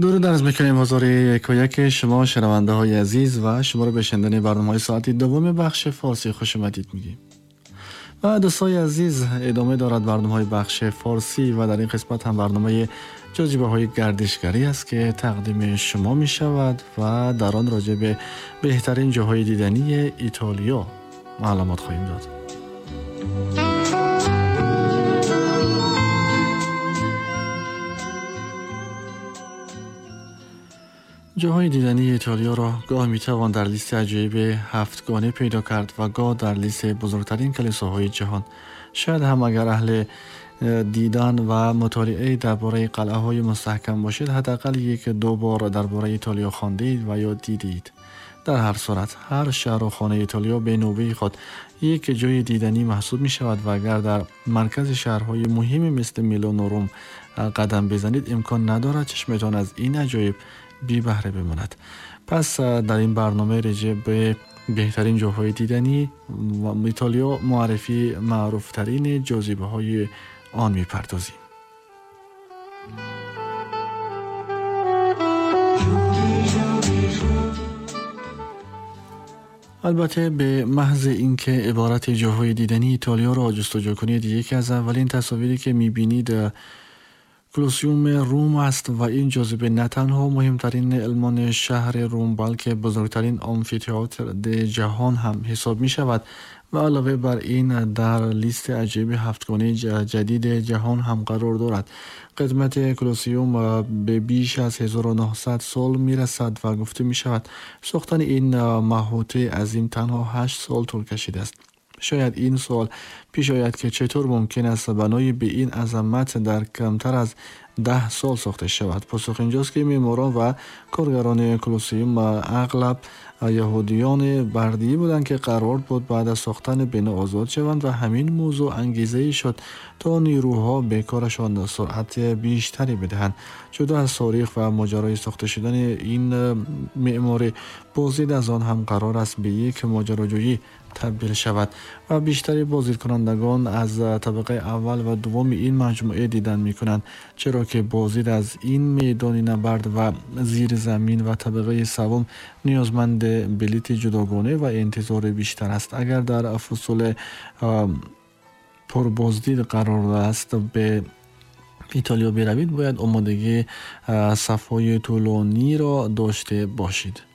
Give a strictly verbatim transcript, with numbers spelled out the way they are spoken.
درود عرض میکنیم حضور یک و یک شما شنونده های عزیز و شما رو به شنیدن برنامه های ساعت دوم بخش فارسی خوش آمدید میگیم. و دوستای عزیز، ادامه دارد برنامه های بخش فارسی و در این قسمت هم برنامه جاذبه های گردشگری است که تقدیم شما می شود و در آن راجع به بهترین جاهای دیدنی ایتالیا معلومات خواهیم داد. جاهای دیدنی ایتالیا را گاه میتوان در لیست عجایب هفتگانه پیدا کرد و گاه در لیست بزرگترین کلیساهای جهان. شاید هم اگر اهل دیدن و مطالعه درباره قلعه های مستحکم باشید، حداقل یک دو بار درباره ایتالیا خواندید و یا دیدید. در هر صورت هر شهر و خانه ایتالیا به نوبه خود یک جای دیدنی محسوب می شود و اگر در مرکز شهرهای مهمی مثل میلان و روم قدم بزنید، امکان ندارد چشمتان از این عجایب بی بهره بماند. پس در این برنامه راجع به بهترین جاهای دیدنی و ایتالیا معرفی معروفترین جاذبه های آن میپردازیم. البته به محض اینکه عبارت جاهای دیدنی ایتالیا را جستجو کنید، یکی از اولین تصاویری که میبینید کلوسیوم روم است و این جاذبه نه تنها مهمترین المان شهر روم بلکه بزرگترین آمفی‌تئاتر جهان هم حساب می شود و علاوه بر این در لیست عجیب هفتگانه جدید جهان هم قرار دارد. قدمت کلوسیوم به بیش از هزار و نهصد سال می رسد و گفته می شود ساختن این محوطه عظیم تنها هشت سال طول کشیده است. شاید این سوال پیش آید که چطور ممکن است بنای به این عظمت در کمتر از ده سال ساخته شود. پاسخ اینجاست که معماران و کارگران کلوسیوم اغلب یهودیان بردی بودند که قرار بود بعد از ساختن بنا آزاد شوند و همین موضوع انگیزه شد تا نیروها به کارشان سرعت بیشتری بدهند. جدا از تاریخ و ماجرای ساخته شدن این معماری، بازدید از آن هم قرار است به یک ماجراجویی تبدیل شود و بیشتری بازدیدکنندگان از طبقه اول و دوم این مجموعه دیدن میکنند، چرا که بازدید از این میدان نبرد و زیر زمین و طبقه سوم نیازمند بلیت جداگانه و انتظار بیشتر است. اگر در فصول پربازدید قرار است به ایتالیا بروید، باید آمادگی صف‌های طولانی را داشته باشید.